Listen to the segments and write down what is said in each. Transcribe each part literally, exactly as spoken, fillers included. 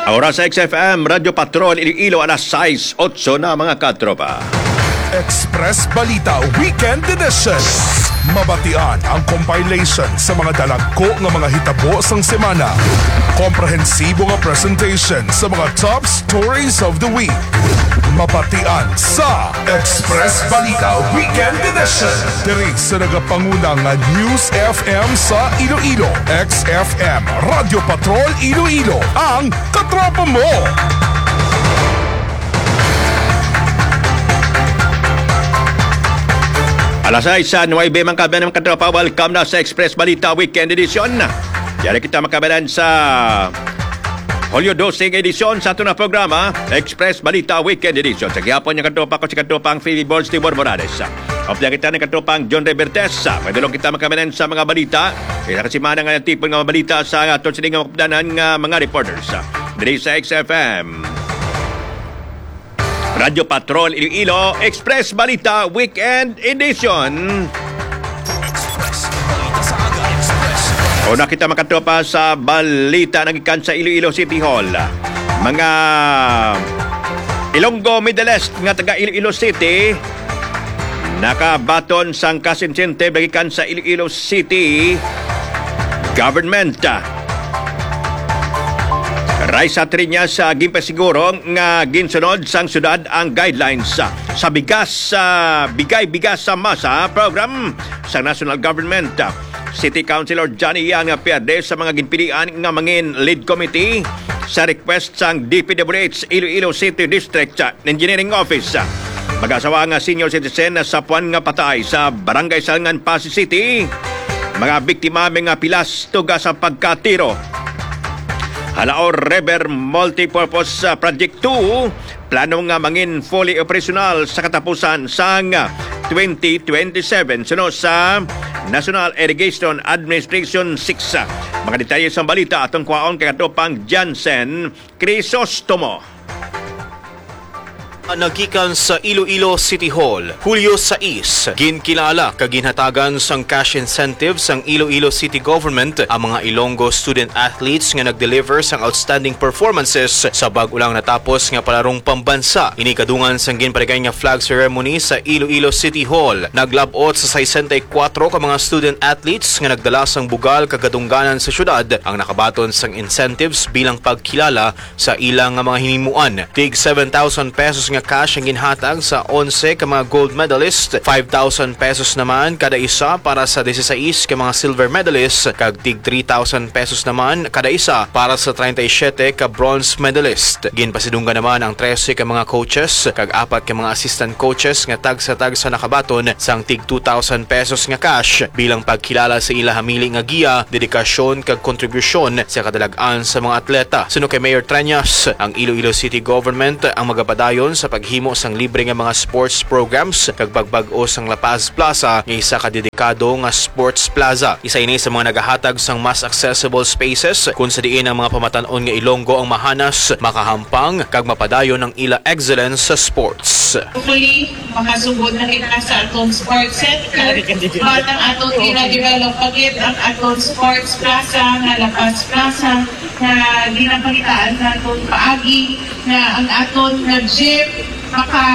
Oras sa X F M, Radyo Patrol, Iloilo, alas sais otso na, mga katropa. Express Balita Weekend Edition. Mabatian ang compilation sa mga dalagko nga mga hitabo sang semana. Komprehensibo nga presentation sa mga top stories of the week. Mabatian sa Express Balita Weekend Edition. Diri sa nagapanguna nga News F M sa Iloilo, X F M, Radyo Patrol Iloilo, ang katropa mo. Alas sais sa nuwebe, mga kabayan, mga katropa. Welcome na sa Express Balita Weekend Edition. Yari kita, mga kabayan, sa Hulyo dose nga edisyon sa aton nga programa, Express Balita Weekend Edition. Sa gihapon, nga katropa ko, si katropang Phoebe Born, Stewart Morales. Updahan kita ni katropang John Revertes. May dulong kita, mga kabayan, sa mga balita. Isa ka semana nga natipon nga mga balita sa aton sini nga mapdanan nga mga reporters. Diri sa X F M. Radyo Patrol Iloilo, Express Balita Weekend Edition. Express Balita sa Aga, Express. Una kita, mga katropa, sa balita nagikan sa Iloilo City Hall. Mga Ilonggo Medalist nga taga Iloilo City nakabaton sang cash incentive nagikan sa Iloilo City Government. Raisa Triñas, ah, ginpasiguro nga ginsunod sang syudad ang guidelines, ah, sa bigas, ah, bigay bigas sa masa program sa national government. City Councilor Johnny Yang Pierde sa mga ginpilian nga mangin lead committee sa request sang D P W H Iloilo City District Engineering Office. Mag-asawa nga senior citizen sa puan nga patay sa Barangay Salngan, Passi City. Mga biktima may nga pilas tuga sa pagkatiro. Jalao River Multipurpose, uh, Project two, plano nga mangin fully operational sa katapusan sang twenty twenty-seven suno sa National Irrigation Administration six. Mga detalye sa balita atong kwaon kay katropang Jansen Crisostomo. Nagikan sa Iloilo City Hall, Hulyo sais, ginkilala kag ginhatagan sang cash incentive sang Iloilo City Government ang mga Ilonggo student athletes nga nag-deliver sang outstanding performances sa bag-o lang natapos nga palarong pambansa. Ini kadungan sang ginpaligay nga flag ceremony sa Iloilo City Hall. Naglab-ot sa sesenta y kuwatro ka mga student athletes nga nagdala sang bugal kag kadungganan sa syudad ang nakabaton sang incentives bilang pagkilala sa ila nga mga hinimuan. Tig seven thousand pesos nga cash ang ginhatag sa onse ka mga gold medalist, five thousand pesos naman kada isa para sa disisais ka mga silver medalist, kag tig three thousand pesos naman kada isa para sa treinta y siete ka bronze medalist. Ginpasidunggan naman ang trese ka mga coaches kag apat ka mga assistant coaches nga tagsa-tagsa nakabaton sang tig two thousand pesos nga cash bilang pagkilala sa ila hamili nga giya, dedikasyon kag kontribusyon sa kadalag-an sa mga atleta. Suno kay Mayor Treñas, ang Iloilo City Government ang magapadayon sa paghimo sang libre nga mga sports programs kag pagbag-o sang La Paz Plaza nga isa ka dedikado nga sports plaza. Isa ini sa mga nagahatag sang mas accessible spaces kun sa diin ang mga pamatan-on nga Ilonggo ang mahanas, makahampang kag mapadayon ang ila excellence sa sports. Hopefully, makasugod na kita sa atong sports center. But ang atong gina-develop pa gid ang atong sports plaza nga La Paz Plaza nga ginapalitaan naton paagi nga ang aton nga gym maka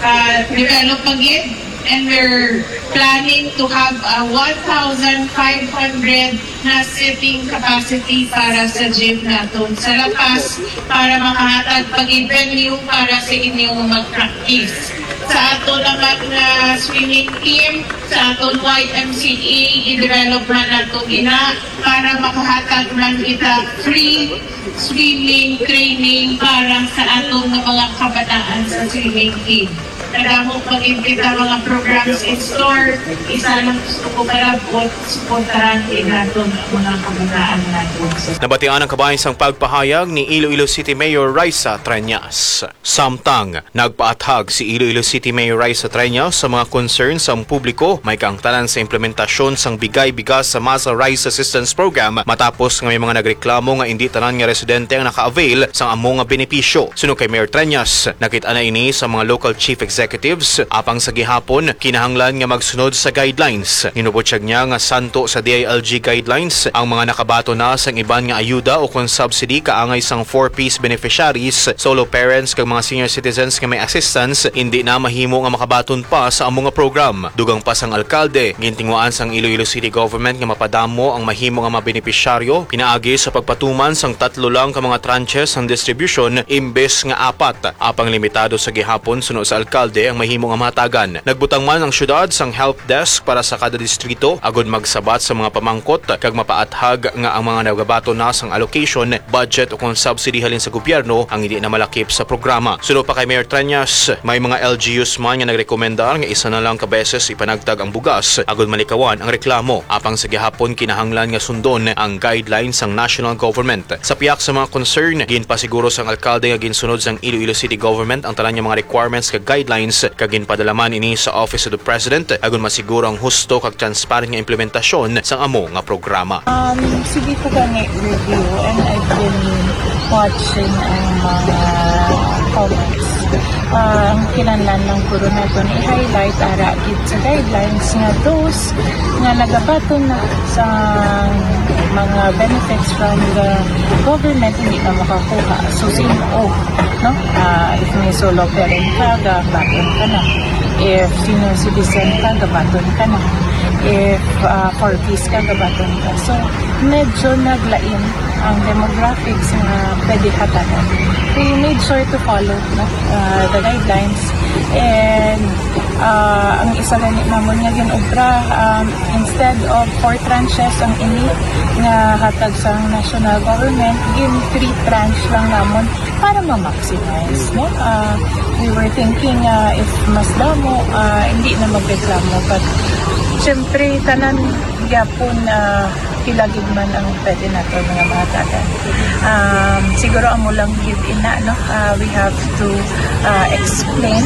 ah, develop pa gid. And we're planning to have a one thousand five hundred na seating capacity para sa gym naton sa La Paz para makahatag pa gid venue para sa inyong mag-practice. Sa ato naman nga swimming team, sa aton Y M C A, i-develop man nato ina para makahatag man kita free swimming training para sa aton nga mga kabataan sa swimming team. Kadamo pa gid kita mga programs in store. Isa lang gusto ko palabot, suportahan gid naton ang mga kabataan naton sa Nabatian ang kabahin sang pagpahayag ni Iloilo City Mayor Raisa Treñas. Samtang nagpaathag si Iloilo City Mayor Raisa Treñas sa mga concern sang publiko may kaangtanan sa implementasyon sang bigay bigas sa Masa Rice Assistance Program matapos nga may mga nagreklamo nga indi tanan nga residente ang naka-avail sang amo nga benepisyo. Suno kay Mayor Treñas, nakit-an na ini sa mga local chief executives, apang sa gihapon, kinahanglan nga magsunod sa guidelines. Ginubutyag niya nga santo sa D I L G guidelines ang mga nakabaton na sang iban nga ayuda o kon subsidy kaangay sang four Ps beneficiaries, solo parents, kag mga senior citizens nga may assistance, hindi na mahimo nga makabaton pa sa amo nga program. Dugang pa sang alkalde, gintinguhaan sang Iloilo City Government nga mapadamo ang mahimo nga mga benepisyaryo pinaagi sa pagpatuman sang tatlo lang ka mga tranches sang distribusyon imbes nga apat. Apang limitado sa gihapon, suno sa alkalde, ang mahimo nga mahatagan. Nagbutang man ang syudad sang help desk para sa kada distrito agud magsabat sa mga pamangkot kag mapaathag nga ang mga nagabaton na sang allocation, budget, o kon subsidy halin sa gobyerno ang hindi na malakip sa programa. Suno pa kay Mayor Treñas, may mga L G Us man nga nagrekomendar nga isa na lang ka beses ipanagtag ang bugas agud malikawan ang reklamo. Apang sa gihapon, kinahanglan nga sundon ang guidelines sang national government. Sa pihak sa mga concern, ginpasiguro sang alkalde nga ginsunod sang Iloilo City Government ang tanan nga mga requirements kag guidelines, kag ginpadala man ini sa Office of the President agon masiguro ang husto kag transparent nga implementasyon sang amo nga programa. Um, sige ko gani review, and I've been watching ang mga comments. Ah, ang kinahanglan lang puro naton i-highlight ara gid sa guidelines nga those nga nagabaton na sa mga benefits from the government hindi na makakuha. So, sino, no? Ah, if may solo parent ka, gabaton ka na. If senior citizen ka, gabaton ka na. If ah, four Ps ka, gabaton ka. So, medyo naglain ang demographics nga pwede hatagan. We made sure to follow, no, uh, the guidelines. And uh, ang isa gani namon nga ginobra, um, instead of four tranches ang ini nga hatag sa national government, gin three tranche lang namon para ma-maximize, no? Uh, we were thinking uh, if mas damo, uh, hindi na magreklamo. But syempre, tanan gyapon uh, pila gid man ang pwede nato nga mahatagan. Um, siguro amo lang gid ina, no? Uh, we have to uh, explain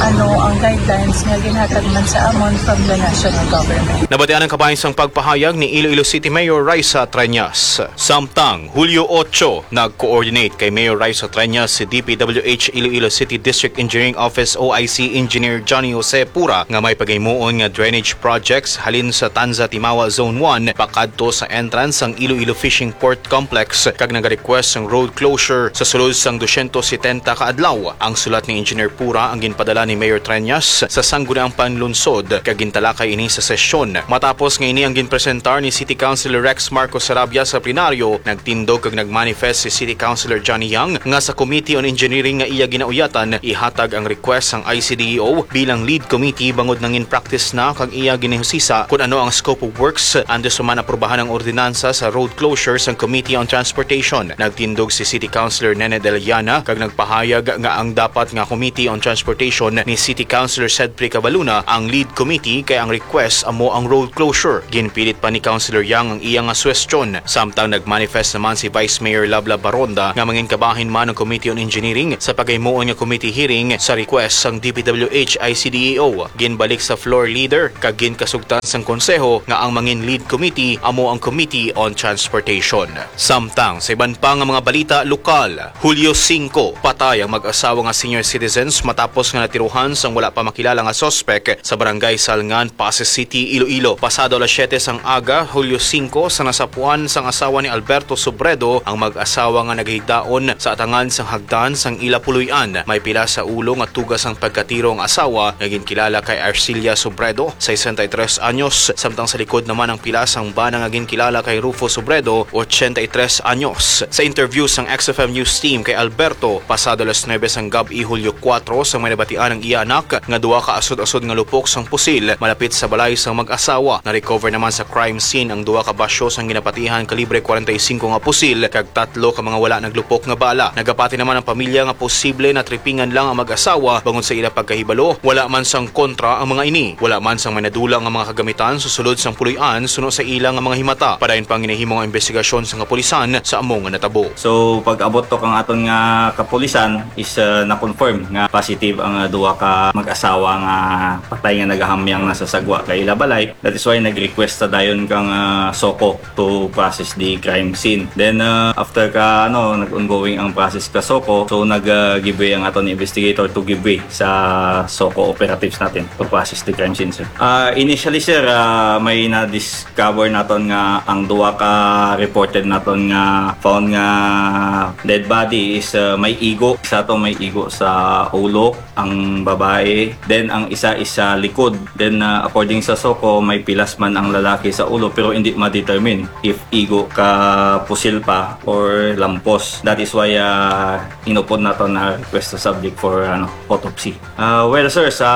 ano ang guidelines nga ginhatag man sa amon from the national government. Nabatian ang kabahin sang pagpahayag ni Iloilo City Mayor Raisa Treñas. Samtang Hulyo otso, nag-coordinate kay Mayor Raisa Treñas si D P W H Iloilo City District Engineering Office, O I C Engineer Johnny Jose Pura, nga may paghimuon nga drainage projects halin sa Tanza Timawa Zone one pakadto sa entrance sang Iloilo Fishing Port Complex, kag nag-request sang road closure sa sulod sang dosyentos setenta ka adlaw. Ang sulat ni Engineer Pura ang ginpadala ni Mayor Treñas sa Sangguniang Panlunsod, kag gintalakay ini sa sesyon. Matapos nga ini ang ginpresentar ni City Councilor Rex Marcos Sarabia sa plenaryo, nagtindog kag nagmanifest si City Councilor Johnny Yang nga sa Committee on Engineering nga iya ginauyatan, ihatag ang request sang I C D E O bilang lead committee bangod nangin practice na kag iya ginahusisa kon ano ang scope of works antes pa man aprubahan ang ordinansa sa road closure sang Committee on Transportation. Nagtindog si City Councilor Nene Deliana kag nagpahayag nga ang dapat nga Committee on Transportation ni City Councilor Cedric Cabaluna ang lead committee, kay ang request amo ang road closure. Ginpilit pa ni Councilor Yang ang iya nga suwestyon. Samtang nagmanifest naman si Vice Mayor Labla Baronda nga mangin kabahin man ang Committee on Engineering sa paghimuon nga committee hearing sa request sang D P W H I C D E O. Ginbalik sa floor leader kag ginkasugtan sang konseho nga ang mangin lead committee amo ang Committee on Transportation. Samtang sa iban pa nga mga balita lokal, Hulyo singko, patay ang mag-asawa nga senior citizens matapos nga natirohan sang wala pa makilala nga suspek sa Barangay Salngan, Passi City, Iloilo. Pasado alas siyete sang aga, Hulyo singko, sa nasapuan sang asawa ni Alberto Sobredo ang mag-asawa nga nagahigdaon sa atangan sang hagdan sang ila puloy-an. May pila sa ulo nga tuga sang pagkatiro ang asawa nga ginkilala kay Arcilia Sobredo, sesenta y tres anyos, samtang sa likod naman ang pila sang bana nga ginkilala kay Rufo Sobredo, ochenta y tres anyos. Sa interview sang X F M News Team kay Alberto, pasado alas nuebe sang gab-i, Hulyo kuwatro, sa may nabatian ang iya anak nga duha ka asod-asod nga lupok sang pusil malapit sa balay sang mag-asawa. Na-recover naman sa crime scene ang duha ka basyo sang ginapatihan kalibre kwarenta y singko nga pusil kag tatlo ka mga wala naglupok nga bala. Nagapati naman ang pamilya nga posible natripingan lang ang mag-asawa bangod sa ila pagkahibalo. Wala man sang kontra ang mga ini. Wala man sang may nadula nga mga kagamitan sa sulod sang an suno sa ila nga mga himata. Padayon pa ang ginahimo nga investigasyon sa kapulisan sa amo nga natabo. So, pag-abot to kang aton nga kapulisan is, uh, na-confirm nga positive ang, uh, duha ka mag-asawa nga patay nga nagahamyang na sa sagwa kay ila balay. That is why nag-request sa dayon kang, uh, SOCO to process the crime scene. Then, uh, after ka, ano, nag-ongoing ang process ka SOCO, so nag, uh, give way ang aton investigator to give way sa SOCO operatives natin to process the crime scene, sir. Uh, initially, sir, uh, may na-discover naton nga ang duha ka reported naton nga found nga dead body is, uh, may igo. Isa to may igo sa ulo, ang babae. Then, ang isa is sa likod. Then, uh, according sa SOCO, may pilas man ang lalaki sa ulo, pero hindi ma-determine if igo ka pusil pa or lampos. That is why, uh, inupod nato na request sa subject for, ano, autopsy. Ah, well, sir, sa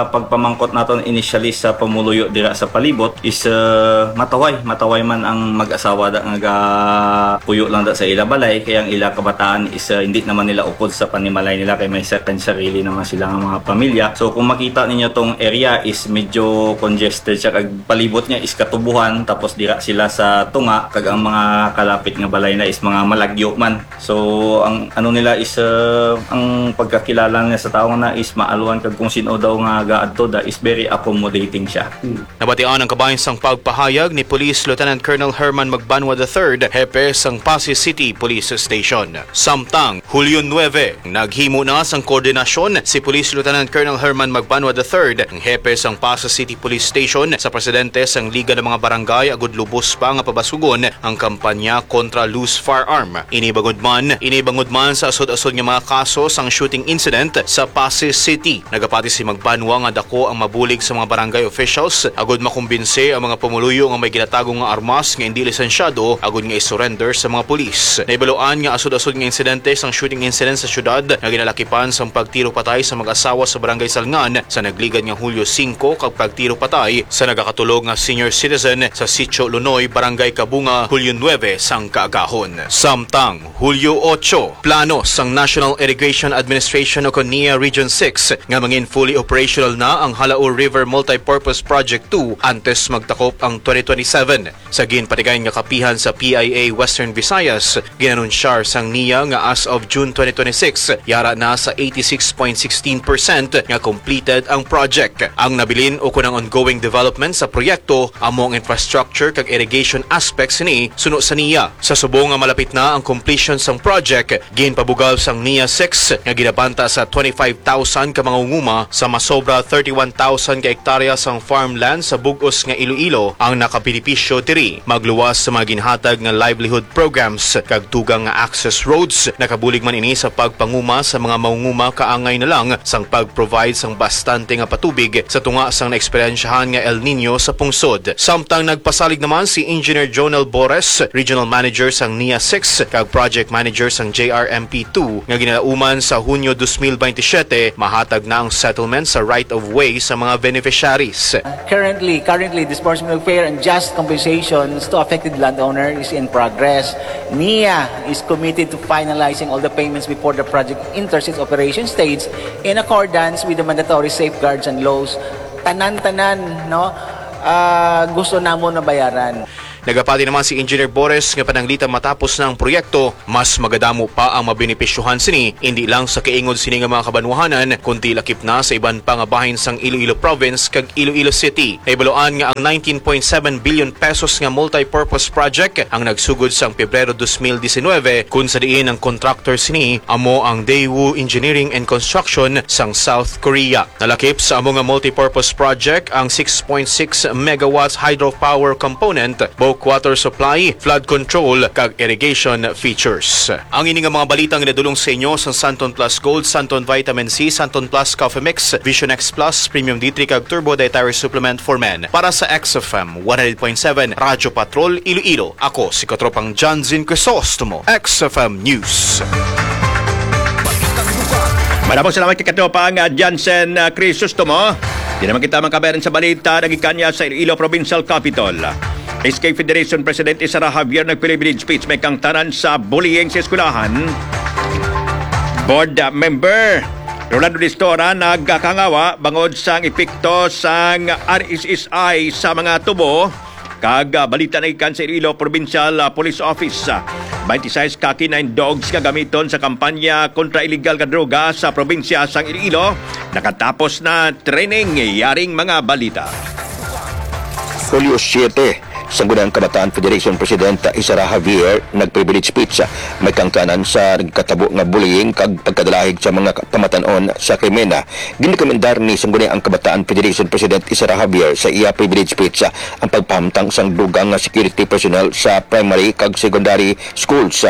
pagpamangkot naton initially sa pumuluyo dira sa palibot is, ah, mataway, mataway man ang mag-asawa da nga gapuyo lang da sa ila balay, kay ang ila kabataan is, ah, hindi naman nila upod sa panimalay nila, kay may sa-, sarili naman sila nga mga pamilya. So, kung makita ninyo, tong area is medyo congested siya, kag palibot niya is katubuhan, tapos dira sila sa tunga, kag ang mga kalapit nga balay na is mga malagyo man. So, ang ano nila is, uh, ang pagkakilala nila sa tawo na is maalwan kag kung sino daw nga gaadto da is very accommodating siya. Hmm. Nabatian ang kabahin sang pagpahayag ni Police Lieutenant Colonel Herman Magbanwa the third, hepe sang Passi City Police Station. Samtang, Hulyo nuebe, naghimo na sang koordinasyon si Police Lieutenant Colonel Herman Magbanwa the third, ang hepe sang Passi City Police Station, sa presidente sang Liga ng mga Barangay, agud lubos pa nga pabasugon ang kampanya kontra loose firearm. Ini bangod man, ini bangod man sa asod-asod nga mga kaso sang shooting incident sa Passi City. Nagapati si Magbanwa nga dako ang mabulig sa mga barangay officials agud makumbinse ang mga pumuluyo nga may ginatago nga armas nga indi lisensyado agud nga i-surrender sa mga pulis. Nahibaluan nga asod-asod nga insidente sang shooting incident sa syudad nga ginalakipan sang pagtiro patay sa mag-asawa sa Barangay Salngan sa nagligad nga Hulyo singko kag pagtiro patay sa nagakatulog nga senior citizen sa Sitio Lunoy, Barangay Kabunga, Hulyo nuebe sang kaagahon. Samtang, Hulyo otso, plano sang National Irrigation Administration o kon NIA Region six nga mangin fully operational na ang Jalao River Multipurpose Project two antes magtakop ang twenty twenty-seven. Sa ginpatigayon nga kapihan sa P I A Western Visayas, ginanunsyar sang NIA nga as of June twenty twenty-six, yara na sa eighty-six point sixteen percent nga completed ang project. Ang nabilin o kon ang ongoing development sa proyekto amo ang infrastructure kag irrigation aspects sini suno sa NIA. Sa subong nga malapit na ang completion sang project, ginpabugal sang NIA six nga ginabanta sa twenty-five thousand ka mangunguma sa masobra thirty-one thousand ka hektarya sang farmland sa bug-os nga Iloilo ang nakabenepisyo diri. Magluwas sa mga ginhatag nga livelihood programs kag dugang nga access roads, nakabulig man ini sa pagpanguma sa mga mangunguma kaangay na lang sang pag-provide sang bastante nga patubig sa tunga sang naeksperyensyahan nga El Niño sa pungsod. Samtang nagpasalig naman si Engineer Jonel Bores, Regional Manager sang NIA six kag Project Manager sang J R M P two, nga ginalauman sa Hunyo dos mil baynte siyete, mahatag na ang settlement sa right of way sa mga beneficiaries. Currently, currently, disbursement of fair and just compensations to affected landowner is in progress. NIA is committed to finalizing all the payments before the project enters its operation stage in accordance with the mandatory safeguards and laws. Tanan-tanan, no? Ah, gusto namon mabayaran. Nagapati naman si Engineer Bores nga pananglitan matapos na ang proyekto, mas magadamo pa ang mabenepisyohan sini, indi lang sa kaingod sini nga mga kabanwahanan, kundi lakip na sa iban pa nga bahin sang Iloilo Province kag Iloilo City. Nahibaluan nga ang nineteen point seven billion pesos nga multipurpose project ang nagsugod sang Pebrero dos mil diecinuebe, kun sa diin ang contractor sini amo ang Daewoo Engineering and Construction sang South Korea. Nalakip sa amo nga multipurpose project ang six point six megawatts hydropower component, bulk water supply, flood control, kag irrigation features. Ang ini nga mga balita nga nadulong sa inyo sa Santon Plus Gold, Santon Vitamin C, Santon Plus Coffee Mix, Vision X Plus, Premium D three, kag Turbo Dietary Supplement for Men. Para sa X F M one hundred point seven Radyo Patrol Iloilo, ako si Katropang Janzin Crisostomo, X F M News. Maraming salamat kay Katropang, ah, Jansen, ah, Crisostomo. Di naman kita makabayaran sa balita, nagikanya sa Iloilo Provincial Capitol. S K Federation President Sara Javier nag-privilege speech may kangtanan sa bullying sa eskwelahan. Board, ah, member Rolando Distora nagkakangawa bangod sang epekto sang R S S I sa mga tubo, kag, ah, balita na gikan sa Iloilo Provincial, ah, Police Office. Ah, twenty-six ka K nine dogs nga gamiton sa kampanya kontra iligal nga droga sa probinsya sang Iloilo. Nakatapos na training, yaring mga balita. Hulyo siete, Sangguniang Kabataan Federation President Isara Javier nag-privilege speech, may kaangtanan sa nagkatabo nga bullying kag pagkadalahig sa mga pamatan-on sa krimen. Ginrekomendar ni Sangguniang Kabataan Federation President Isara Javier sa iya privilege speech ang pagpahamtang sang dugang nga security personnel sa primary kag secondary schools,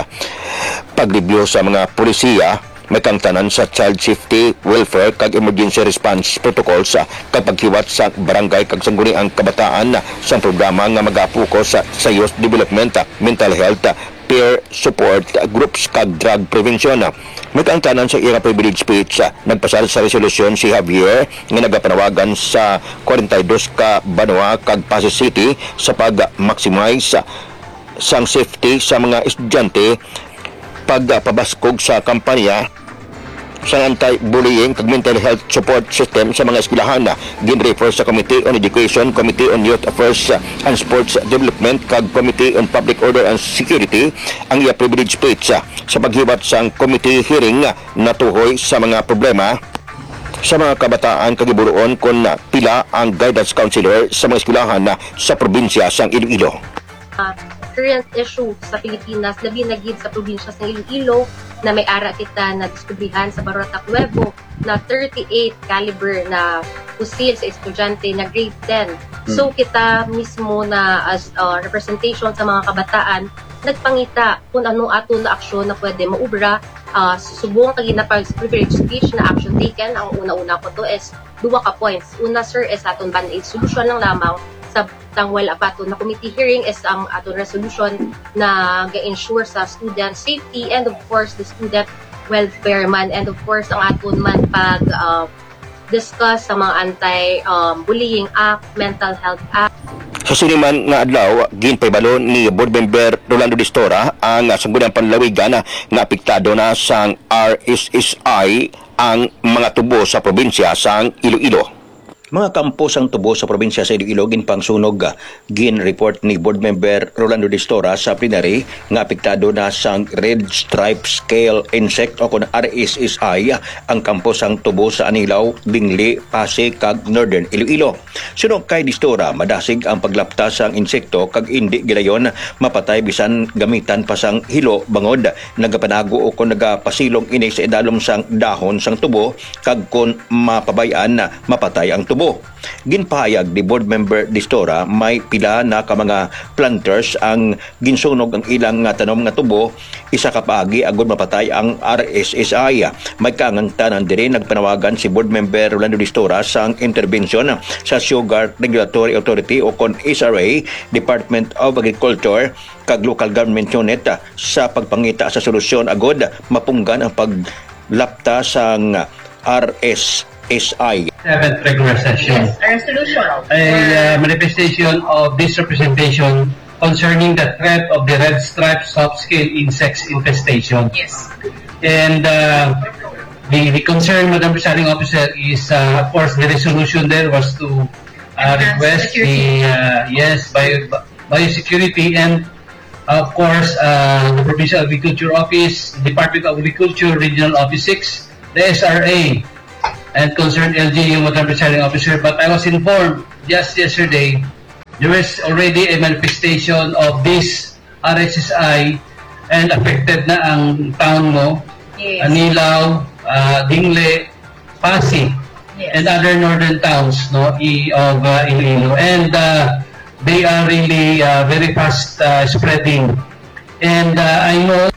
pag-review sa mga polisiya, may kaangtanan sa child safety, welfare, kag emergency response protocols, ah, kag paghiwat sa barangay kag sangguniang kabataan, ah, sa programa nga magapokus sa, sa youth development, ah, mental health, ah, peer support, ah, groups, kag drug prevention. May kaangtanan sa iyang privilege speech, ah, nagpasar sa resolusyon si Javier nga nagapanawagan sa forty-two ka banwa kag Passi City sa pag-maximize, ah, sang safety sa mga estudyante, pagpabaskog sa kampanya sa anti-bullying kag mental health support system sa mga eskwelahan. Gin-refer sa Committee on Education, Committee on Youth Affairs and Sports Development, kag Committee on Public Order and Security ang iya privilege speech. Sa paghiwat sang committee hearing, natuhoy sa mga problema sa mga kabataan kag giburuon kon pila ang guidance counselor sa mga eskwelahan sa probinsya sang Iloilo. Ah, current issue sa Pilipinas, labi na gid sa probinsya sa Iloilo, na may ara kita nadiskubrihan sa Barrio Tacuevo na thirty-eight caliber na pusil sa estudyante na grade ten. So, Hmm. kita mismo na as, ah, representation sa mga kabataan, nagpangita kung ano aton na aksyon na pwede maubra, ah, subong kag ginapag-, privilege speech na action taken. Ang una-una ko to is duwa ka points. Una, sir, is aton band-aid solution lang lamang sa tangwal abaton na committee hearing is ang aton resolution na ga-ensure sa student safety and, of course, the student welfare man, and, of course, ang aton man pag, ah, discuss sa mga anti, um, bullying act, mental health act. Sa sini man nga adlaw, ginpahibalo ni Board Member Rolando Distora ang, ah, Sangguniang Panlalawigan nga apektado na sang R S S I ang mga tubo sa probinsya sang Iloilo. Mga kampo sang tubo sa probinsya sa Iloilo ginpangsunog. Gin-report ni Board Member Rolando Distora sa plenary nga apektado na sang Red Stripe Scale Insect o kon R S S I ang kampo sang tubo sa Anilao, Dingle, Passi, kag Northern Iloilo. Suno kay Distora, madasig ang paglapta sang insekto kag indi gilayon mapatay bisan gamitan pa sang hilo bangod nagapanago o kon nagapasilong ini sa idalom sang dahon sang tubo kag kon mapabay-an, mapatay ang tubo. Ginpahayag ni Board Member Distora, may pila na ka mga planters ang ginsunog ang ilang nga tanom nga tubo, isa ka paagi agud mapatay ang R S S I. May kaangtanan diri, nagpanawagan si Board Member Rolando Distora sang interbensyon sa Sugar Regulatory Authority o kon S R A, Department of Agriculture, kag local government unit sa pagpangita sa solusyon agud mapunggan ang paglapta sang R S S I. Seventh regular session. Yes, a resolution. A, uh, manifestation of this representation concerning the threat of the red stripe soft scale insects infestation. Yes. And, uh, the, the concern, Madam Presiding Officer, is, uh, of course, the resolution there was to, uh, request the, uh, yes, bio-, biosecurity and, of course, uh, the Provincial Agriculture Office, Department of Agriculture, Regional Office six, the S R A, and concerned L G U, Madam Presiding Officer. But I was informed just yesterday, there is already a manifestation of this R S S I and affected na ang town mo, Yes. Anilao, uh, Dingle, Passi, Yes. and other northern towns, no, i-, of, uh, Iloilo. And, uh, they are really, uh, very fast, uh, spreading. And, uh, I know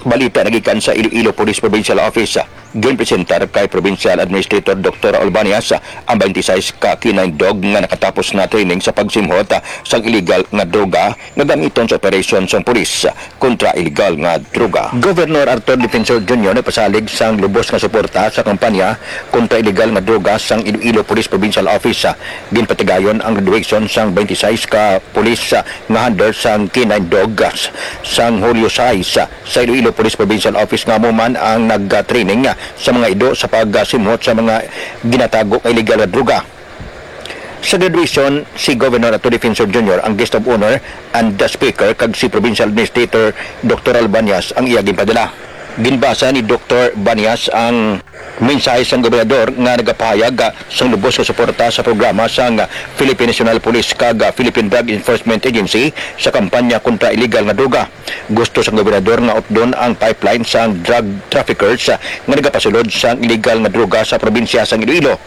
Balita nagikan sa Iloilo Police Provincial Office. Ginpresentar kay Provincial Administrator Doktor Albanias ang twenty-six ka K nine dog nga nakatapos na training sa pagsimhot sang iligal nga droga nga gamiton sa operasyon sang pulis kontra iligal nga droga. Governor Arthur Defensor Junior nagpasalig sang lubos nga suporta sa kampanya kontra iligal nga droga sang Iloilo Police Provincial Office. Ginpatigayon ang graduation sang twenty-six ka pulis nga handler sang K nine Dogs sang Hulyo sais sa Iloilo Police Provincial Office nga amo man ang nagtraining sa mga ido sa pagsimhot sa mga ginatago nga illegal nga droga. Sa graduation, si Governor Attorney Defensor Junior ang guest of honor and the speaker, kag si Provincial Administrator Doktor Albanias ang iya ginpadala. Ginbasa ni Doktor Banias ang mensahe sang gobernador nga nagapahayag, ah, sang lubos nga suporta sa programa sang Philippine National Police kag, ah, Philippine Drug Enforcement Agency sa kampanya kontra illegal nga droga. Gusto sang gobernador nga utdon ang pipeline sang drug traffickers, ah, nga nagapasulod sang illegal nga droga sa probinsya sang Iloilo.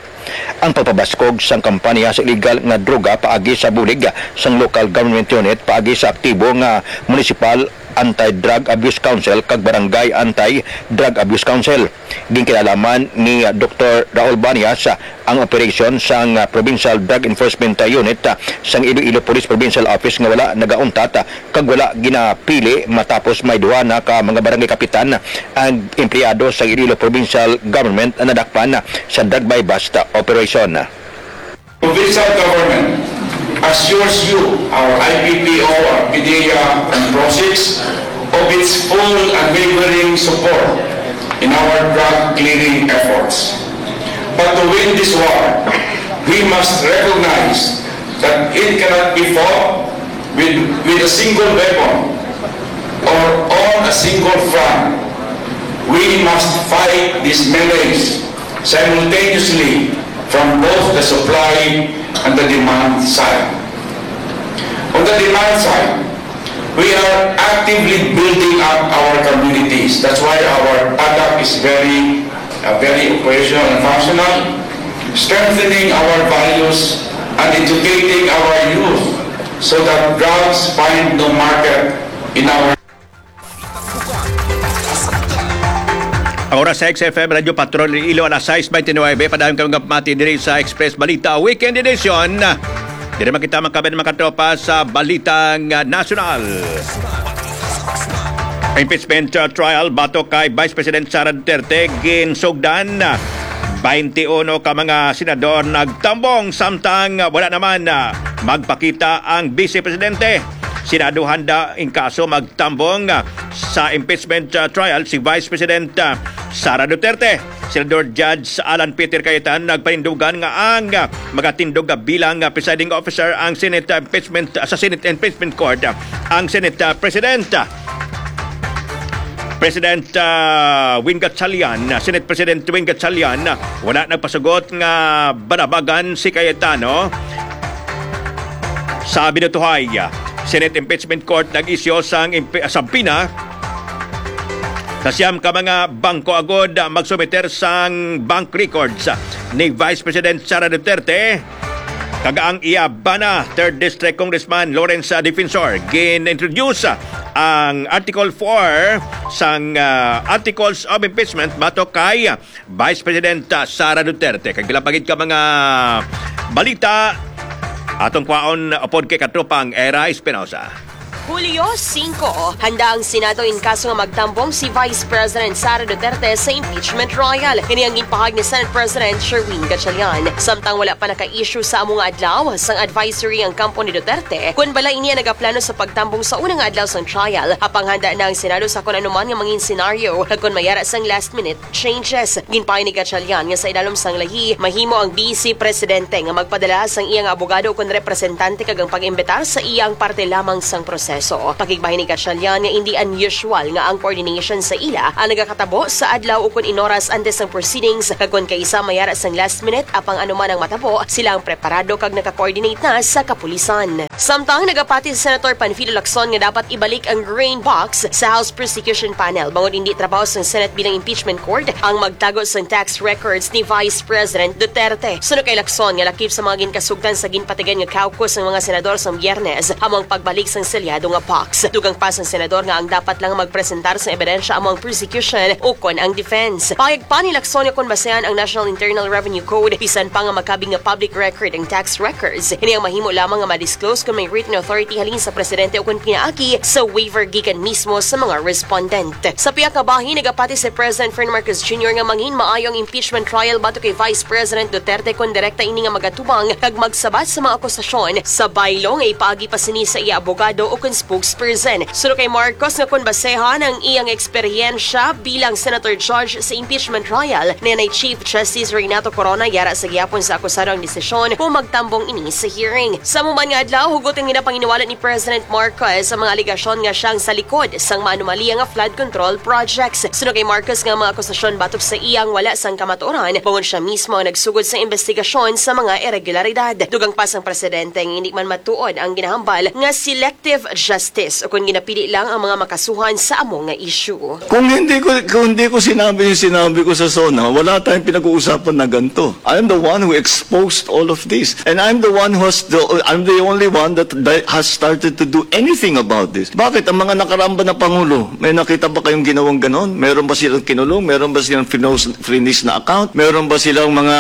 Ang pagpabaskog sang kampanya sa illegal nga droga paagi sa bulig sang local government unit paagi sa aktibo nga Municipal Anti-Drug Abuse Council kag Barangay Anti-Drug Abuse Council. Ginkinalaman ni Doktor Raul Banias ang operasyon sang Provincial Drug Enforcement Unit sang Iloilo Police Provincial Office nga wala nagauntat kag wala ginapili, matapos may duha na ka mga barangay kapitan ang empleyado sa Iloilo Provincial Government na nadakpan sa drug buy-bust operation. Provincial government assures you, our I P P O, our PDEA, and PROSICs of its full, unwavering support in our drug clearing efforts. But to win this war, we must recognize that it cannot be fought with, with a single weapon or on a single front. We must fight these menace simultaneously from both the supply and the demand side. On the demand side, we are actively building up our communities. That's why our PADAC is very, uh, very operational and functional, strengthening our values and educating our youth so that drugs find no market in our Ang oras sa X F M Radio Patrol Iloilo, alas sais bente nuebe. Padayon kami nga pamati diri sa Express Balita Weekend Edition. Diri man kita magkabin, mga katropa, sa balitang, ah, nasyonal. Impeachment, ah, trial batok kay Vice President Sara Duterte ginsugdan. Twenty-uno ka mga senador nagtambong, samtang wala naman, ah, magpakita ang Vice Presidente. Senado handa in kaso magtambong, ah, sa impeachment, ah, trial si Vice President, ah, Sara Duterte. Senador Judge Alan Peter Cayetano nagpanindugan nga ang, ah, magatindog nga bilang, ah, presiding officer ang Senate, ah, impeachment, ah, sa Senate Impeachment Court, ah, ang Senate, ah, President. President, ah, Win Gatchalian, Senate President Win Gatchalian, wala nagpasugot nga banabagan si Cayetano. Sa binutuhay, Senate Impeachment Court nag-isyu sang impe-, subpoena sa siyam ka mga bangko agud magsumiter sang bank records ni Vice President Sara Duterte kag ang iya bana, Third District Congressman Lawrence Defensor. Gin-introduce ang Article four sang, ah, Articles of Impeachment batok kay Vice President, ah, Sara Duterte. Kag pila pa gid ka mga balita, atong kwaon upod kay katropang Era Espinosa. Hulyo singko, handa ang Senado in kaso nga magtambong si Vice President Sara Duterte sa impeachment trial. Ini ang ginpahayag ni Senate President Sherwin Gatchalian. Samtang wala pa naka-issue sa amo nga adlaw sang advisory ang kampo ni Duterte, kun bala ini ang nagaplano sa pagtambong sa una nga adlaw sang trial, apang handa na ang Senado sa kun anuman nga mangin senaryo kag kun mayara sang last-minute changes. Ginpahayag ni Gatchalian nga sa ilalom sang lahi, mahimo ang Vice Presidente nga magpadala sang iya nga abogado ukon representante kag ang pag-imbitar sa iya ang parte lamang sang proseso. Pakigbahin ni Gatchalian nga indi unusual nga ang coordination sa ila ang nagakatabo sa adlaw ukon in oras antes sang proceedings, kag kon kaisa mayara sang last minute, apang anuman ang matabo, sila ang preparado kag naka-coordinate na sa kapulisan. Samtang nagapati si Senator Panfilo Lacson nga dapat ibalik ang green box sa House Prosecution Panel, bangod indi trabaho sang Senate bilang impeachment court ang magtago sang tax records ni Vice President Duterte. Suno kay Lacson nga lakip sa mga ginkasugtan sa ginpatigayon nga caucus sang mga senador sang Biyernes amo ang pagbalik sang selyado nga box. Dugang pa sang senador nga ang dapat lang magpresentar sang ebidensya amo ang prosecution ukon ang defense. Pahayag pa ni Lacson nga kon basehan ang National Internal Revenue Code, bisan pa nga magkabig nga public record ang tax records, ini ang mahimo lamang nga ma-disclose kon may written authority halin sa presidente ukon pinaagi sa waiver gikan mismo sa mga respondent. Sa pihak nga bahin, nagapati si President Ferdinand Marcos Junior nga mangin maayo ang impeachment trial batok kay Vice President Duterte kon direkta ini nga magatubang kag magsabat sa mga akusasyon sa baylo nga ipaagi pa sini sa iya abogado ukon spokesperson. Suno kay Marcos nga kon basehan ang iyang eksperyensya bilang Senator Judge sa impeachment trial ni anay Chief Justice Renato Corona, yara sa gihapon sa akusado ang desisyon kung magtambong ini sa hearing. Sa amo man nga adlaw, hugot ang ginapanginiwala ni President Marcos ang mga alegasyon nga siya ang sa likod sang maanomalya nga flood control projects. Suno kay Marcos nga mga akusasyon batok sa iyang wala sang kamatuoran, bangod siya mismo ang nagsugod sa investigasyon sa mga irregularidad. Dugang pa sang presidente nga hindi man matuod ang ginahambal nga selective justice ukon ginapili lang ang mga makasuhan sa amo nga issue. Kung hindi ko, kung hindi ko sinabi yung sinabi ko sa SONA, wala tayong pinag-uusapan na ganito. I am the one who exposed all of this. And I'm the one who has the, I'm the only one that, that has started to do anything about this. Bakit? Ang mga nakaraan ba na Pangulo, may nakita ba kayong ginawang ganon? Meron ba silang kinulong? Meron ba silang finos-, finish na account? Meron ba silang mga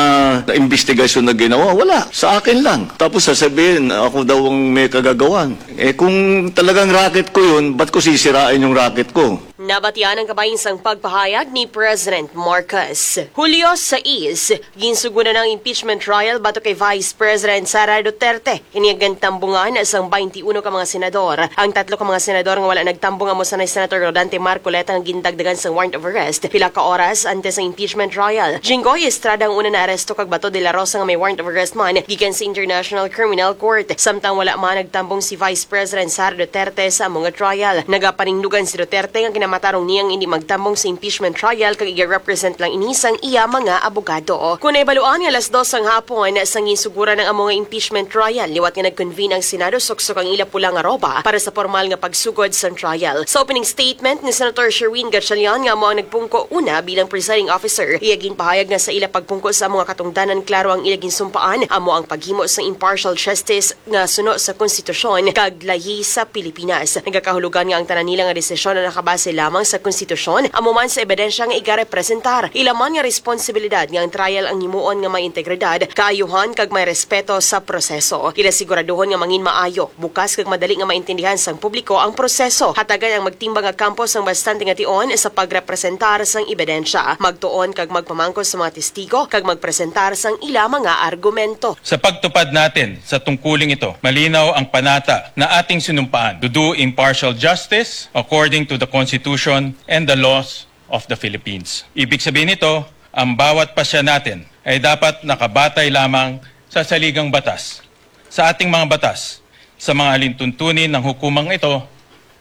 investigasyon na ginawa? Wala. Sa akin lang. Tapos sasabihin, ako daw ang may kagagawan. Eh, kung talagang racket ko yun, ba't ko sisirain yung racket ko? Nabatian ang kabahin sang pagpahayag ni President Marcos. Hulyo sais, ginsuguran ang impeachment trial batok kay Vice President Sara Duterte. Ini ang gintambungan sang twenty-one ka mga senador. Ang tatlo ka mga senador nga wala nagtambong amo sanay Senator Rodante Marcoleta nga gindagdagan sang warrant of arrest pila ka oras antes sang impeachment trial. Jinggoy Estrada ang una naaresto kag Bato de la Rosa nga may warrant of arrest man gikan sa International Criminal Court. Samtang wala man nagtambong si Vice President Sara Duterte sa amo nga trial. Nagapanindugan si Duterte nga ginamatarong niya nga indi magtambong sa impeachment trial kag iga-represent lang ini sang iya mga abogado. Kon nahibaluan nga alas dos sang hapon sang ginsuguran ang amo nga impeachment trial, liwat nga nag-convene ang Senado suksok ang ila pula nga roba para sa pormal nga pagsugod sang trial. Sa opening statement ni Senator Sherwin Gatchalian nga amo ang nagpungko una bilang presiding officer, iya ginpahayag nga sa ila pagpungko sa amo nga katungdanan, klaro ang ila ginsumpaan, amo ang paghimo sang impartial justice nga suno sa konstitusyon kag lahi sa Pilipinas. Nagakahulogan nga ang tanan nila nga desisyon ang nakabase lamang sa konstitusyon, amo man sa ebidensya nga igarepresentar. Ila man nga responsibilidad nga ang trial ang himuon nga may integridad, kaayuhan kag may respeto sa proseso. Ila siguraduhon nga mangin maayo, bukas kag madali nga maintindihan sang publiko ang proseso. Hatagan ang magtimbang nga kampo sang bastante nga tion sa pagrepresentar sang ebidensya, magtuon kag magpamangkot sa mga testigo kag magpresentar sang ila mga argumento. Sa pagtupad natin sa tungkuling ito, malinaw ang panata na ating sinumpaan, to do impartial justice according to the Constitution and the laws of the Philippines. Ibig sabihin nito, ang bawat pasya natin ay dapat nakabatay lamang sa saligang batas, sa ating mga batas, sa mga alintuntunin ng hukumang ito,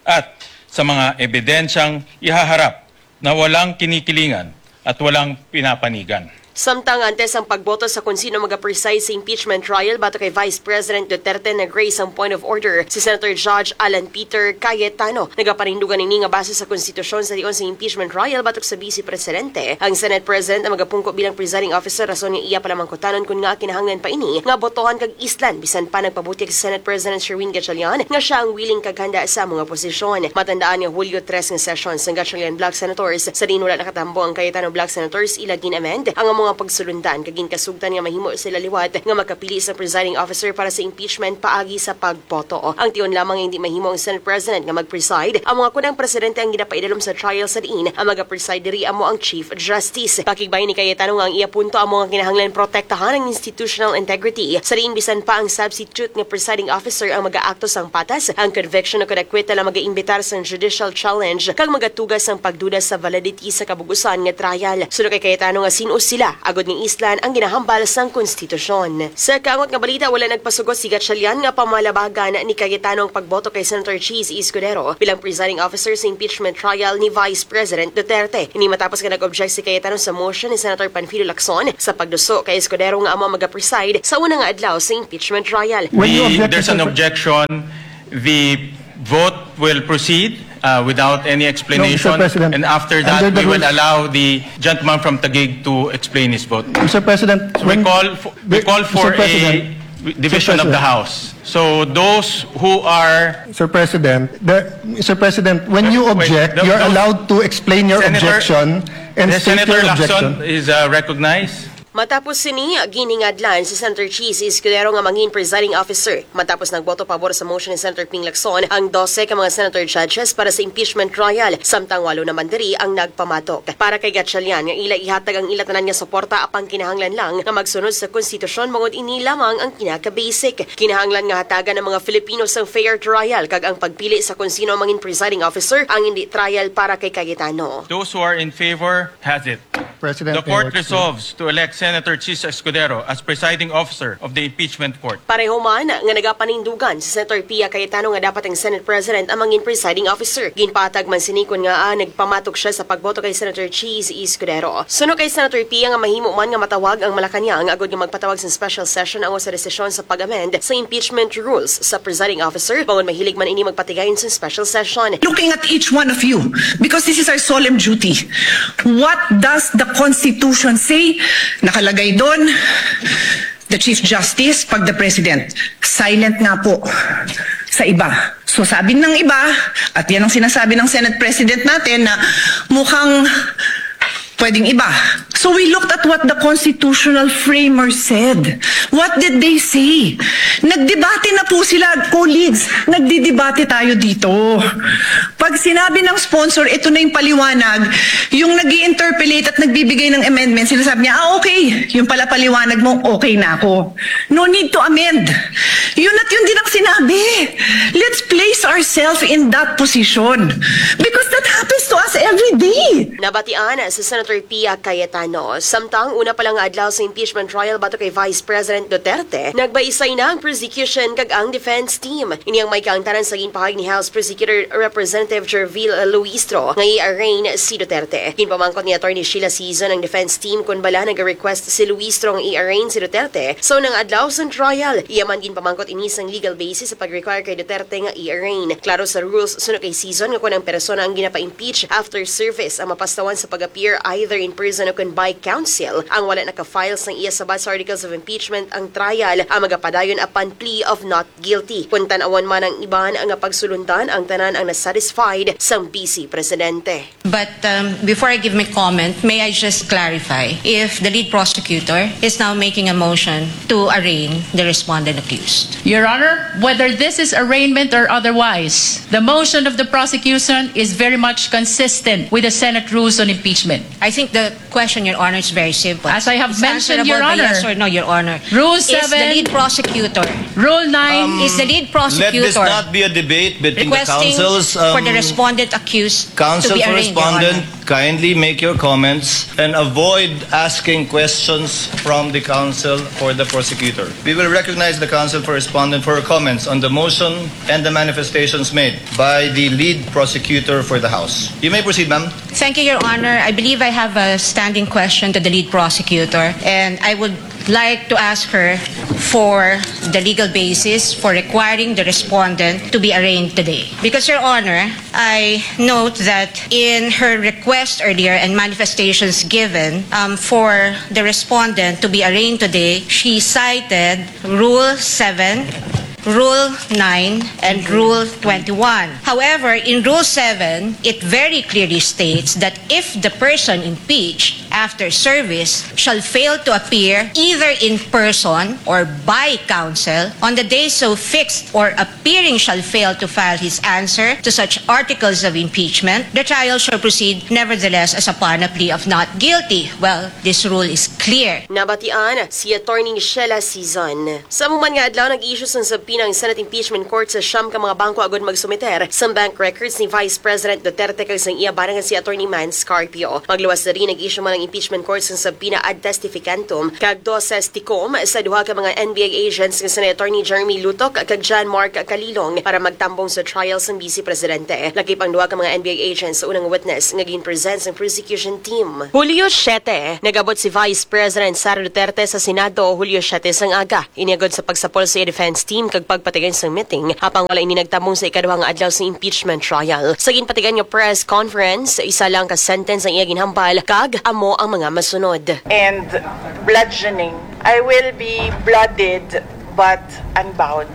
at sa mga ebidensyang ihaharap na walang kinikilingan at walang pinapanigan. Samtang antes ang pagboto sa kung sino magapreside sa impeachment trial batok kay Vice President Duterte, nag-raise sang point of order si Senator Judge Alan Peter Cayetano. Nagapanindugan ini nga base sa konstitusyon sa tion sa impeachment trial batok sa Vice Presidente, ang Senate President ang magapungko bilang presiding officer, rason nga iya palamangkutanon kon ngaa kinahanglan pa ini nga botohan kag islan, bisan pa nagpabutyag si Senate President Sherwin Gatchalian nga siya ang willing kag handa sa amo nga posisyon. Matandaan nga Hulyo tres nga session sang Gatchalian bloc senators, sa diin wala nakatambong ang Cayetano bloc senators, ila gin-amend ang amo nga pagsulundan kag ginkasugtan nga mahimo sila liwat nga makapili sa presiding officer para sa impeachment paagi sa pagboto. Ang tion lamang nga hindi mahimo ang Senate President nga mag-preside amo nga kon ang presidente ang ginapaidalom sa trial, sa diin ang magapreside diri amo ang Chief Justice. Pakigbahin ni Cayetano nga ang iya punto amo nga kinahanglan protektahan ang institutional integrity, sa diin bisan pa ang substitute nga presiding officer ang mag-aakto sang patas, ang conviction o kon acquittal ang mag-iimbitar sang judicial challenge kag magatuga sang pagduda sa validity sa kabug-usan nga trial. Suno kay Cayetano nga sin-o sila agod nga islan ang ginahambal sang konstitusyon. Sa kaangot nga balita, wala nagpasugot si Gatchalian nga pamalabagan ni Cayetano ang pagboto kay Senator Chiz Escudero bilang presiding officer sa impeachment trial ni Vice President Duterte. Ini matapos nga nag-object si Cayetano sa motion ni Senator Panfilo Lacson sa pagduso kay Escudero nga amo ang magapreside sa una nga adlaw sa impeachment trial. When you The, object, there's an Mister Pre- objection. The vote will proceed, uh, without any explanation. No, Mister President, And after that, under the we will rules allow the gentleman from Taguig to explain his vote. Mister President, So we when call for, we the, call Mister for a President, division Mister of the President. House. So those who are Sir President, the, Mister President, when you Wait, object, the, you're those allowed to explain your Senator, objection and the state Senator your Lacson objection. Is, uh, recognized. Matapos sini, ginhingadlan si Senator Chiz Escudero nga mangin presiding officer. Matapos nagboto pabor sa motion ni Senator Ping Lacson ang dose ka mga senator judges para sa impeachment trial, samtang walo naman diri ang nagpamatok. Para kay Gatchalian nga ila ihatag ang ila tanan nga suporta, apang kinahanglan lang nga magsunod sa konstitusyon, bangod ini lamang ang kinaka-basic. Kinahanglan nga hatagan ang mga Filipino sang fair trial, kag ang pagpili sa kon sino ang mangin presiding officer ang hindi trial para kay Cayetano. Those who are in favor has it. President, The may I court resume? resolves to elect Senator Chiz Escudero as presiding officer of the impeachment court. Pareho man nga nagapanindugan si Senator Pia Cayetano nga dapat ang Senate President ang mangin presiding officer. Ginpatag man sini kon ngaa nagpamatok siya sa pagboto kay Senator Chiz Escudero. Suno kay Senator Pia nga mahimo man nga matawag ang Malacañang agud nga magpatawag sa special session ang sa desisyon sa pag-amend sa impeachment rules sa presiding officer, bangod mahilig man ini magpatigayon sa special session. Looking at each one of you, because this is our solemn duty. What does the Constitution say? Nakalagay doon, the Chief Justice, pag the President. Silent nga po sa iba. So sabi ng iba, at yan ang sinasabi ng Senate President natin, na mukhang pwedeng iba. So we looked at what the constitutional framers said. What did they say? Nagdebate na po sila, colleagues. Nagdidebate tayo dito. Pag sinabi ng sponsor, ito na yung paliwanag, yung nag interpolate at nagbibigay ng amendment, sinasabi niya, ah, okay, yung pala paliwanag mo, okay na ako. No need to amend. Yun at yun din ang sinabi. Let's place ourselves in that position. Because that happens to us every day. Nabatian si Senator Pia Cayetano. Samtang una pa lang nga adlaw sa impeachment trial batok kay Vice President Duterte, nagbaisay na ang prosecution kag ang defense team. Ini ang may kaangtanan sa ginpahayag ni House Prosecutor Representative Jervil Luistro nga i-arraign si Duterte. Ginpamangkot ni Attorney Sheila Sison ang defense team kon bala nag-request si Luistro nga i-arraign si Duterte sa unang adlaw sang trial. Iya man ginpamangkot ini sang legal basis sa pag-require kay Duterte nga i-arraign. Klaro sa rules suno kay Sison nga kon ang persona ang ginapa-impeach after service ang mapastawan sa pag-appear either in person o kon by counsel, ang wala naka-file sang iya sabat sa articles of impeachment ang trial ang magapadayon upon plea of not guilty. Kon tan-awon man ang iban nga pagsulundan, ang tanan ang nasatisfied sang Vice Presidente. But, um, before I give my comment, may I just clarify if the lead prosecutor is now making a motion to arraign the respondent accused? Your Honor, whether this is arraignment or otherwise, the motion of the prosecution is very much consistent with the Senate rules on impeachment. I think the question, Your Honor, is very simple. As I have It's mentioned, answerable Your by Honor, yes or no, Your Honor. Rule Is the seven, lead prosecutor Rule nine, is the lead Let this prosecutor not be a debate between the requesting counsels. for the Um, respondent accused to counsel be for arraigned, Your Honor. Respondent, kindly make your comments and avoid asking questions from the counsel for the prosecutor. We will recognize the counsel for respondent for her comments on the motion and the manifestations made by the lead prosecutor for the House. You may proceed, ma'am. Thank you, Your Honor. I believe I have a standing question to the lead prosecutor, and I would like to ask her for the legal basis for requiring the respondent to be arraigned today. Because, Your Honor, I note that in her request earlier and manifestations given, um, for the respondent to be arraigned today, she cited Rule seven, Rule nine, and Rule twenty-one. However, in Rule seven, it very clearly states that if the person impeached after service shall fail to appear either in person or by counsel on the day so fixed, or appearing shall fail to file his answer to such articles of impeachment, the trial shall proceed nevertheless as upon a plea of not guilty. Well, this rule is clear. Nabatian si Attorney Sheila Sison. Sa amo man nga adlaw, nag-issue sang subpoena ang Senate Impeachment Court sa siyam ka mga bangko agud magsumiter sang bank records ni Vice President Duterte kag sang iya bana nga si Attorney Mans Carpio. Magluwas diri, nag-issue man ang Impeachment Court sang subpoena ad testificantum kag doses tecum sa duha ka mga N B I agents nga sina Attorney Jeremy Lutoc kag John Mark Calilong para magtambong sa trial sang Vice Presidente. Lakip ang duha ka mga N B I agents sa unang witness nga gin-present sang prosecution team. Hulyo siete, nag-abot si Vice President Sara Duterte sa Senado, Hulyo siete sang aga. Ini agud sa pagsapol sa iya defense team kag pagpatigayon sang meeting, apang wala ini nagtambong sa ikaduha nga adlaw sa impeachment trial. Sa ginpatigayon nga press conference, isa lang ka sentence ang iya ginhambal, kag amo ang mga masunod. And bludgeoning. I will be blooded but unbowed.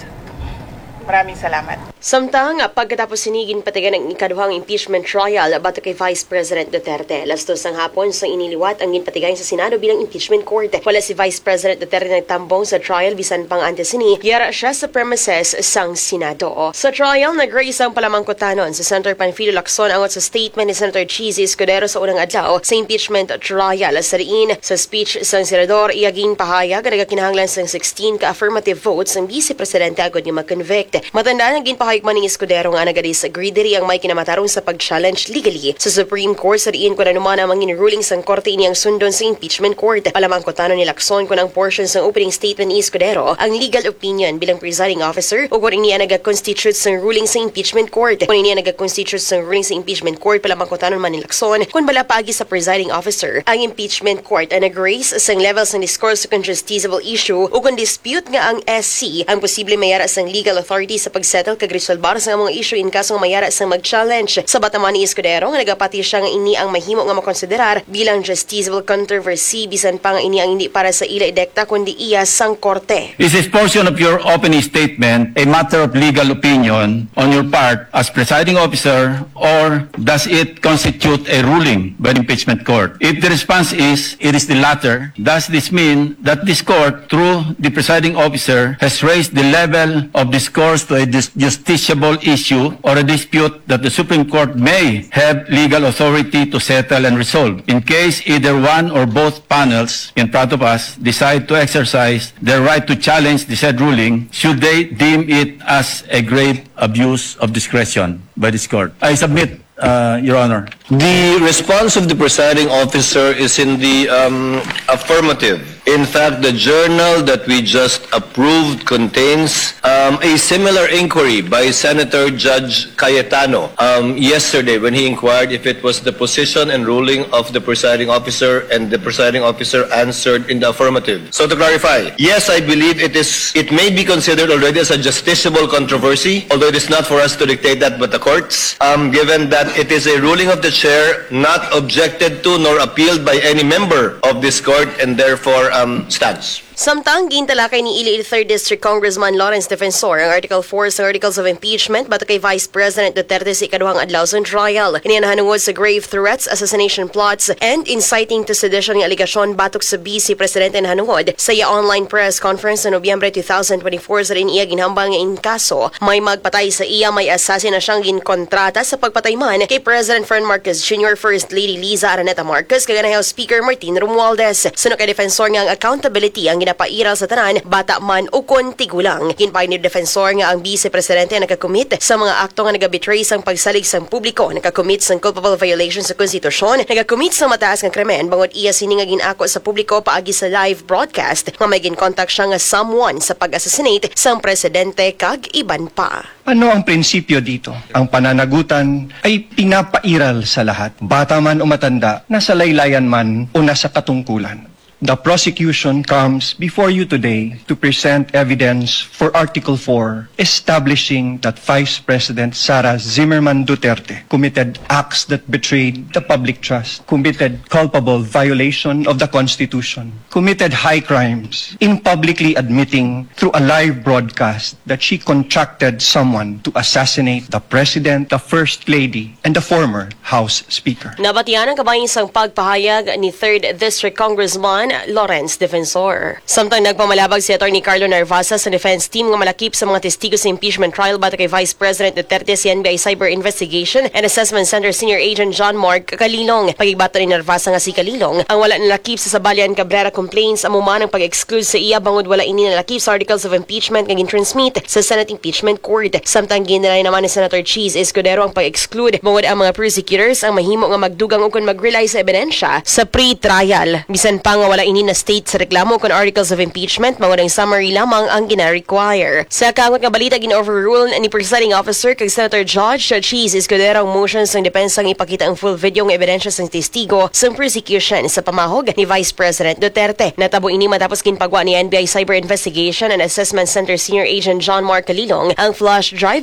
Maraming salamat. Samtang pagkatapos sini, ginpatigayon ang ikaduhang impeachment trial batok kay Vice President Duterte. Alas dos sang hapon sang iniliwat ang ginpatigayon sa Senado bilang impeachment court. Wala si Vice President Duterte nagtambong sa trial, bisan pa nga antes sini yara siya sa premises sang Senado. Sa trial, nag-raise ang palamangkutanon si Senator Panfilo Lacson angot sa statement ni Senator Chiz Escudero sa unang adlaw sa impeachment trial. Sa diin, sa speech sang senador, iya ginpahayag nga nagakinahanglan sang sixteen ka affirmative votes ang Vice Presidente agud nga ma-convict. Matandaan nga ginpahayag man ni Escudero nga naga-disagree diri ang may kinamatarong sa pag-challenge legally sa Supreme Court, sa diin kon ano man ang mangin ruling sang korte, ini ang sundon sa impeachment court. Palamangkutanon ni Lacson kon ang portion sang opening statement ni Escudero ang legal opinion bilang presiding officer o kon ini ang naga-constitute sang ruling sa impeachment court. Kon ini ang naga-constitute sang ruling sa impeachment court, palamangkutanon man ni Lacson kon bala paagi sa presiding officer ang impeachment court ang nag-raise sang level sang discourse kon justiciable issue o kon dispute nga ang S C ang posible mayara sang legal authority sa pag-settle kag resolbar sa mga issue in kaso nga mayara sang mag-challenge. Sabata man ni Escudero nga nagapati siya nga ini ang mahimo nga makonsiderar bilang justiciable controversy, bisan pa nga ini ang hindi para sa ila idekta kundi iya sang korte. Is this portion of your opening statement a matter of legal opinion on your part as presiding officer, or does it constitute a ruling by the impeachment court? If the response is it is the latter, does this mean that this court, through the presiding officer, has raised the level of discourse to a dis- justiciable issue or a dispute that the Supreme Court may have legal authority to settle and resolve? In case either one or both panels in front of us decide to exercise their right to challenge the said ruling, should they deem it as a grave abuse of discretion by this court? I submit, uh, Your Honor. The response of the presiding officer is in the um, affirmative. In fact, the journal that we just approved contains um, a similar inquiry by Senator Judge Cayetano um, yesterday when he inquired if it was the position and ruling of the presiding officer, and the presiding officer answered in the affirmative. So to clarify, yes, I believe it is. It may be considered already as a justiciable controversy, although it is not for us to dictate that, but the courts. Um, given that it is a ruling of the chair not objected to nor appealed by any member of this court, and therefore um, stands. Samtang gintalakay ni Iloilo Third District Congressman Lawrence Defensor ang Article four sa Articles of Impeachment batok kay Vice President Duterte sa ikaduhang adlaw sang trial. Ini nahanungod sa grave threats, assassination plots, and inciting to sedition nga alegasyon batok sa Vice Presidente nahanungod sa iya online press conference sa Nobyembre two thousand twenty-four, sa diin iya ginhambal nga in kaso may magpatay sa iya, may assassin na siyang ginkontrata sa pagpatay man kay President Fern Marcos Junior, First Lady Liza Araneta Marcos, kag Speaker Martin Romualdez. Suno kay Defensor nga ang accountability ang ginapairal sa tanan, bata man ukon tigulang. Ginpahayag ni Defensor nga ang Vice Presidente ang nakakomit sa mga akto nga nagabetray sang pagsalig sang publiko, nakakomit sang culpable violation sa konstitusyon, nagakomit sang mataas nga krimen, bangod iya sini nga gin-ako sa publiko paagi sa live broadcast nga may ginkontak siya nga someone sa pag-assassinate sang presidente kag iban pa. Ano ang prinsipyo dito? Ang pananagutan ay pinapairal sa lahat, bata man o matanda, nasa laylayan man o nasa katungkulan. The prosecution comes before you today to present evidence for Article four, establishing that Vice President Sara Zimmerman Duterte committed acts that betrayed the public trust, committed culpable violation of the Constitution, committed high crimes in publicly admitting through a live broadcast that she contracted someone to assassinate the President, the First Lady, and the former House Speaker. Nabatian ang kabahin sang pagpahayag ni Third District Congressman Lawrence Defensor. Samtang nagpamalabag si Attorney Carlo Narvasa sa defense team nga malakip sa mga testigo sa impeachment trial batok kay Vice President Duterte, si N B I Cyber Investigation and Assessment Center Senior Agent John Mark Kalilong. Pagigbaton ni Narvasa nga si Kalilong ang wala nalakip sa Sabalian Cabrera complaints, amo man ang pag-exclude sa iya bangod wala ini nalakip sa articles of impeachment nga gin-transmit sa Senate Impeachment Court. Samtang gin-deny naman ni Senator Chiz Escudero ang pag-exclude, bangod ang mga prosecutors ang mahimo nga magdugang ukon mag-rely sa ebidensya sa pre-trial, bisan pa nga wala ini na-state sa reklamo kon articles of impeachment, bangod ang summary lamang ang gina-require. Sa kaangot nga balita, gin-overrule ni Presiding Officer kag Senator Judge Chiz Escudero ang motion sang depensa nga ipakita ang full video nga ebidensya sang testigo sang prosecution sa pamahog ni Vice President Duterte. Natabo ini matapos ginpagwa ni N B I Cyber Investigation and Assessment Center Senior Agent John Mark Kalilong ang flash drive